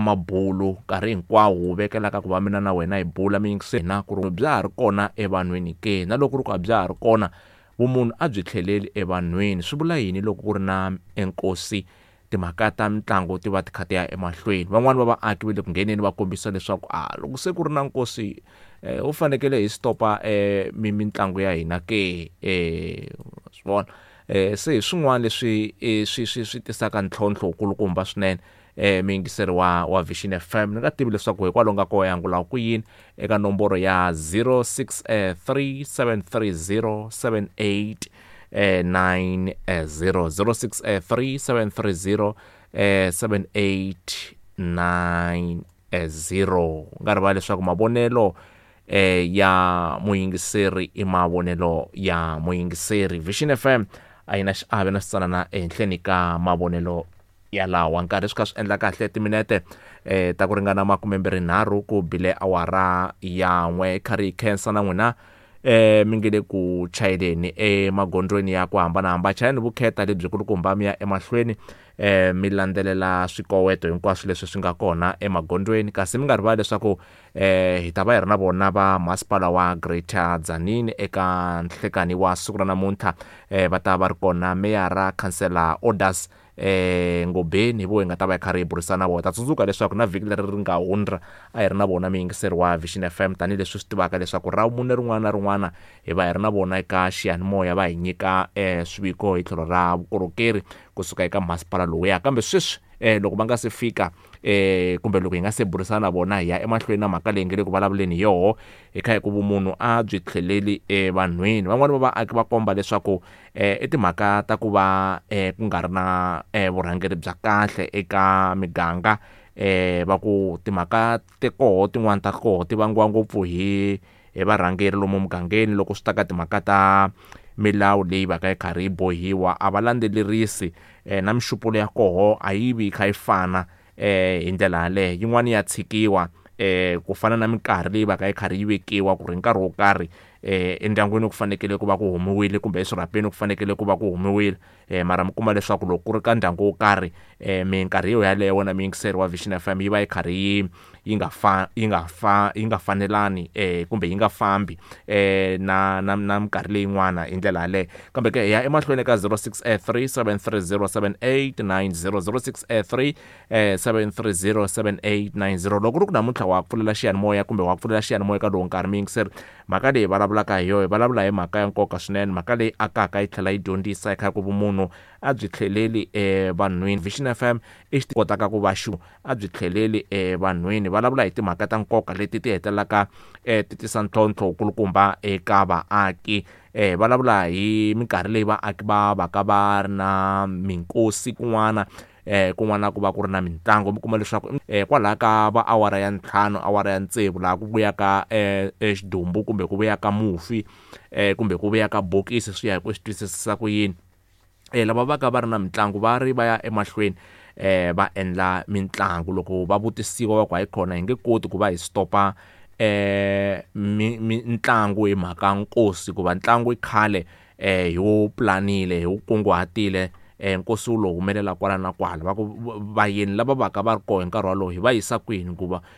Mabulu nkarhi hinkwawo wu vekelaka ku va mina na wena hi bula mi yingisela na ku ri bya ha ri kona evanhwini ke, na loko ku ri ku a bya ha ri kona vumunhu a byi tlheleli evanhwini. Swi vula yini loko ku ri na enkosi timhaka ta mitlangu ti va ti kha ti ya emahlweni? Van'wani va vaaki va le ku ngheneni va kombisa leswaku a loko se ku ri na nkosi wu fanekele hi stopa mitlangu ya hina ke, swi vona se hi swin'wana leswi swi swi swi tisaka ntlhontlho wu kulukumba swinene. Muyingiseri wa Vision FM, ni nga tivi leswaku hikwalaho nga koho yangula ku yini eka nomboro ya 063 730 78 90, 063 730 7890. Nga rivali leswaku mavonelo ya muyingiseri i mavonelo ya muyingiseri. Vision FM a yi na xiave na xitsanana ehenhleni ka mavonelo yalawa. Nkarhi swi kha swi endla kahle timinete ta ku ringana 23 ku bile awara ya 1. Kha ri khensa na n'wina mi nge le ku chayeleni emagondzweni ya ku hambanahambana. Chayeleni vukheta lebyi kulukumba mi ya emahlweni mi landzelela swikoweto hinkwaswo leswi swi nga kona emagondzweni, kasi mi nga rivali leswaku hi ta va hi ri na vona va masipala wa Greater Tzaneen eka nhlekani wa siku ra namuntlha. Va ta va ri kona meyara khansela Orders Ngobeni, hi vo hi nga ta va hi karhi hi burisana na vona. Ta tsundzuka leswaku na vhiki leri ri nga hundza a hi ri na vona muyingiseri wa Vision FM, tanihileswi swi tivaka leswaku ra mune rin'wana na rin'wana hi va hi ri na vona eka xiyanimoya, va hi nyika swiviko hi tlhelo ra vukorhokeri kusuka eka masipala lowuya. Kambe sweswi loko va nga se fika kumbe loko hi nga se burisana na vona, hi ya emahlweni na mhaka leyi nge le ku vulavuleni hi yoho, hi kha hi ku vumunhu a byi tlheleli evanhwini. Van'wani va vaaki va komba leswaku i timhaka ta ku va ku nga ri na vurhangeri bya kahle eka miganga. Va ku timhaka te koho tin'wani ta koho ti vangiwa ngopfu hi varhangeri lomu mugangeni loko swi ta ka timhaka ta milawu leyi va ka yi karhi yi bohiwa, a va landzelerisi na mixupulo ya koho a yi vi yi kha yi fana hi ndlela yaleyo. Yin'wani ya tshikiwa ku fana na minkarhi leyi va ka yi karhi yi vekiwa ku ri nkarhi wo karhi endyangwini ku fanekele ku va ku humiwile kumbe eswirhapeni ku fanekele ku va ku humiwile, mara mi kuma leswaku loko ku ri ka ndyangu wo karhi minkarhi yo yaleyo wena muyingiseri wa Vision FM yi va yi karhi yi yi nga fa yi nga fa yi nga fanelani kumbe yi nga fambi na na na minkarhi leyin'wana hi ndlela yaleyo. Kambe ke hi ya emahlweni ka 063 730 7890, 063 730 7890. Loko ku ri ku namuntlha wa pfulela xiyanimoya kumbe wa pfulela xiyanimoya ka lowu nkarhi muyingiseri, mhaka leyi vulavulaka hi yoho, hi vulavula hi mhaka ya nkoka swinene, mhaka leyi akaka yi tlhela yi dyondzisa hi kha ku vumunhu a byi tlheleli evanhwini. Vision FM i xi kotaka ku va xu a byi tlheleli evanhwini. Vulavula hi timhaka ta nkoka leti ti hetelelaka ti tisa ntlhontlho wukulukumba eka vaaki. Vulavula hi minkarhi leyi vaaki va va ka va ri na minkosi kun'wana, kun'wana ku va ku ri na mitlangu, mi kuma leswaku kwalaho ka va awara ya 5, awara ya 6 laha ku vuyaka xidumbu kumbe ku vuyaka mufi kumbe ku vuyaka bokisi, swi ya hi ku swi twisisisa ku yini. Lava va ka va ri na mitlangu va ri va ya emahlweni va endla mitlangu. Loko va vutisiwa va ku hayi khona hi nge koti ku va hi stopa mitlangu hi mhaka nkosi, hikuva ntlangu i khale hi wu planile, hi wu kunguhatile, nkosi wu lo humelela kwala na kwala. Va ku vayeni lava va ka va ri koho hi nkarhi wolowo hi va yisa kwini,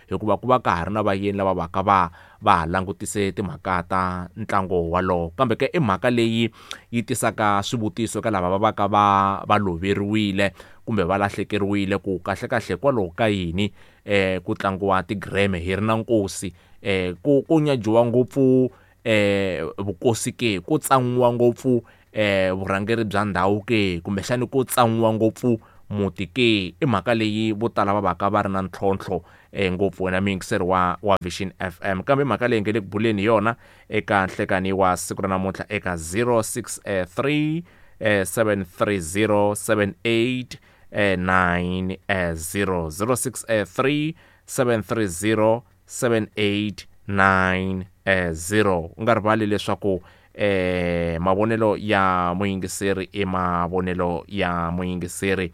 hikuva ku va ka ha ri na vayeni lava va ka va va ha langutise timhaka ta ntlangu walowo. Kambe ke i mhaka leyi yi tisaka swivutiso eka lava va va ka va va loveriwile kumbe va lahlekeriwile, ku kahle kahle hikwalaho ka yini ku tlangiwa tigreme hi ri na nkosi, ku nyajiwa ngopfu vukosi ke, ku tsan'wiwa ngopfu vurhangeri bya ndhawu ke, kumbexani ku tsan'wiwa ngopfu muti ke. I mhaka leyi vo tala va va ka va ri na ntlhontlho ngopfu wena muyingiseri wa Vision FM. Kambe mhaka leyi nge le ku buleni hi yona eka nhlekani wa siku ra namuntlha eka 063 730 78 90, 063 730 7890. U nga rivali leswaku Mavonelo ya muyingiseri i mavonelo ya muyingiseri.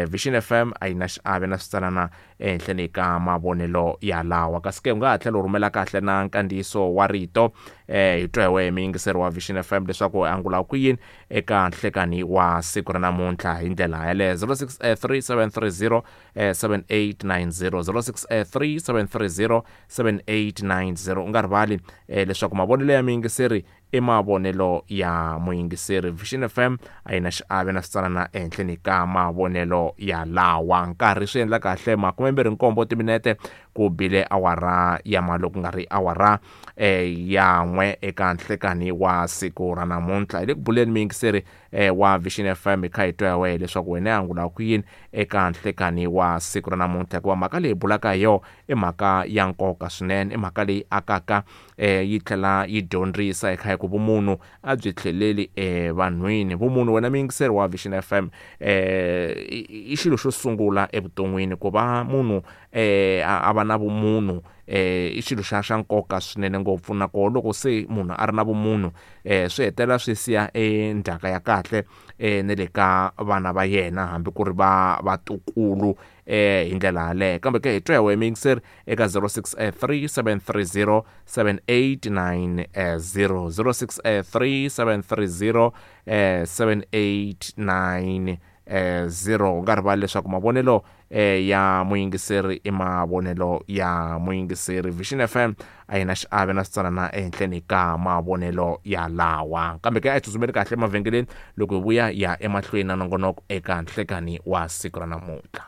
Vision FM a yi na xiave na switsanana ehenhleni ka mavonelo ya lawa. Kasi ke u nga ha tlhela u rhumela kahle na nkandziyiso wa rito, hi twa hi wehe muyingiseri wa Vision FM leswaku angula ku yini eka nhlekani wa siku ra namuntlha hi ndlela yaleyo. 063730 7890, 063730 7890. U nga rivali leswaku mavonelo ya muyingiseri i mavonelo ya muyingiseri. Vision FM a yi na xiave na switsanana ehenhleni ka mavonelo ya lawa. Nkarhi swi endla kahle 27 timinete ku bile awara ya malo, ku nga ri awara ya 1 eka nhlekani wa siku ra namuntlha. Hi le ku buleni muyingiseri wa Vision FM, hi kha hi twa wehe leswaku wena angula ku yini eka nhlekani wa siku ra namuntlha, hikuva mhaka leyi bulaka hi yona i mhaka ya nkoka swinene, i mhaka leyi akaka, yi tlhela yi dyondzisa hi kha hi ku vumunhu a byi tlheleli evanhwini. Vumunhu wena muyingiseri wa Vision FM i xilo xo sungula evuton'wini. Ku va munhu a va na vumunhu i xilo xa nkoka swinene ngopfu, nakona loko se munhu a ri na vumunhu swi hetelela swi siya endzhaka ya kahle ne le ka vana va yena, hambi ku ri va vatukulu hi ndlela yaleyo. Kambe ke hi twa hi wehe muyingiseri eka 063730 7890, 063730 7890. U nga rivali leswaku mavonelo ya muyingiseri i mavonelo ya muyingiseri. Vision FM a yi na xiave na switsanana ehenhleni ka mavonelo ya lawa. Kambe ke a hi tsutsumeli kahle emavhengeleni, loko hi vuya ya emahlweni na nongonoko eka nhlekani wa siku ra namuntlha.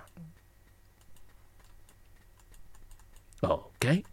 Okay.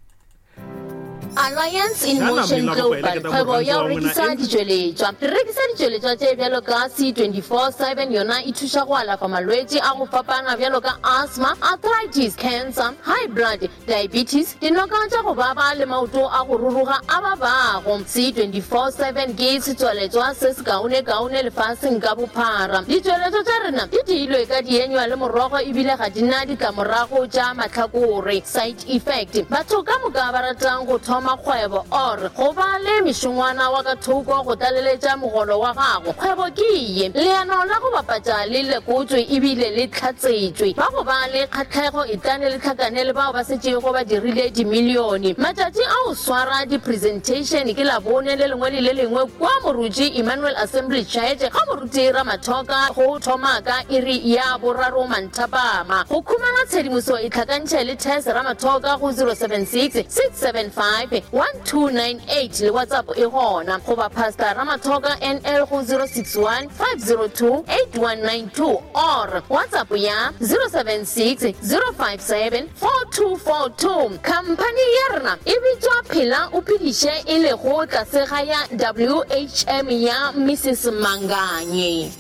Alliance in Motion Global, kgwebo ya go rekisa ditšweletšwa. Re rekisa ditšweletšwa tše bjalo ka C24/7, yona e thuša go alafa malwetši a go fapana bjalo ka asthma, arthritis, cancer, high blood, diabetes, dinoka tša go baba le maoto a go ruruga a babago. C24/7 ke setswaletšwa se sekaonekaone lefaseng ka bophara. Ditšweletšwa tša rena di diilwe ka dienywa le morogo ebile ga di na ditlamorago tša mahlakore, side effect. Batho ka moka ba ratang go thoma kgwebo or go ba le mešongwana wa ka thoko go tlaleletša mogolo wa gago, kgwebo ke ye. Leano la go bapatša le lekotšwe ebile le hlatsetšwe. Ba go ba le kgahlego etlane le hlakane le bao ba setšego ba dirile dimilione. Matšatši a go swara di-presentation ke Labone le lengwe le le lengwe kua Moruti Emmanuel Assembly Church ga Moruti Ramathoka go thoma ka iri ya boraro manthapama. Go khumana tshedimoso itlhakantšhe le Tess Ramathoka go 076 675 1298 le WhatsApp e gona, goba Pastor Ramathoka NL go 061 502 8192 or WhatsApp ya 076 057 4242. Khamphani ya rena e bitšwa Phela o Phediše e lego tlase ga ya WHM ya Mrs Manganye.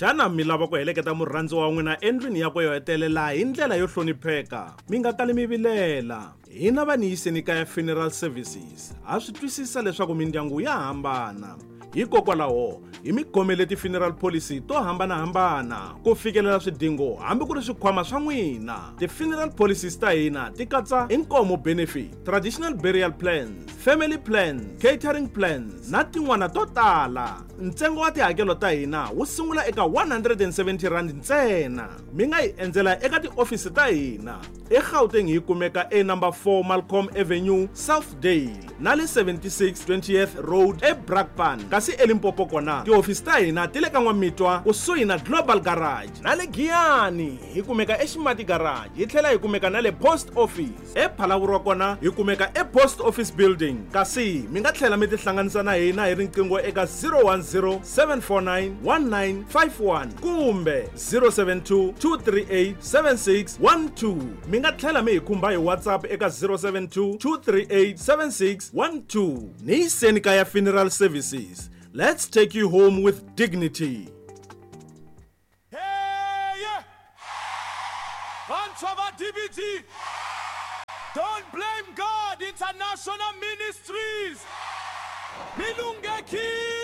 Xana mi lava ku heleketa murhandziwa wa n'wina endlwini yakwe yo hetelela hi ndlela yo hlonipheka? Mi nga kali mi vilela. Hina va Niyiseni Kaya Funeral Services ha swi twisisa leswaku mindyangu ya hambana. Hikokwalaho hi mi khomele ti-funeral policy to hambanahambana ku fikelela swidingo hambi ku ri swikhwama swa n'wina. Ti-funeral policies ta hina ti katsa inkomo benefit, traditional burial plans, family plans, catering plans na tin'wana to tala. Ntsengo wa tihakelo ta hina wu sungula eka R170 ntsena. Mi nga hi endzela eka tiofisi ta hina eGauteng, hi kumeka e number 4 Malcolm Avenue, Southdale, na le 76 20th Road eBrakpan. Kasi eLimpopo kona tihofisi ta hina ti le ka N'wamitwa kusuhi na Global Garage, na le Giyani hi kumeka eXimati Garage, hi tlhela hi kumeka na le Post Office. ePhalaborwa kona hi kumeka ePost Office Building. Kasi mi nga tlhela mi tihlanganisa na hina hi riqingho eka 010 749 1951 kumbe 072 238 7612. Mi nga tlhela mi hi khumba hi WhatsApp eka 072 238 7612. Niyiseni Kaya Funeral Services. Let's take you home with dignity. Hey! Vantshwa va DBT, Don't Blame God International Ministries, mi lunghekile.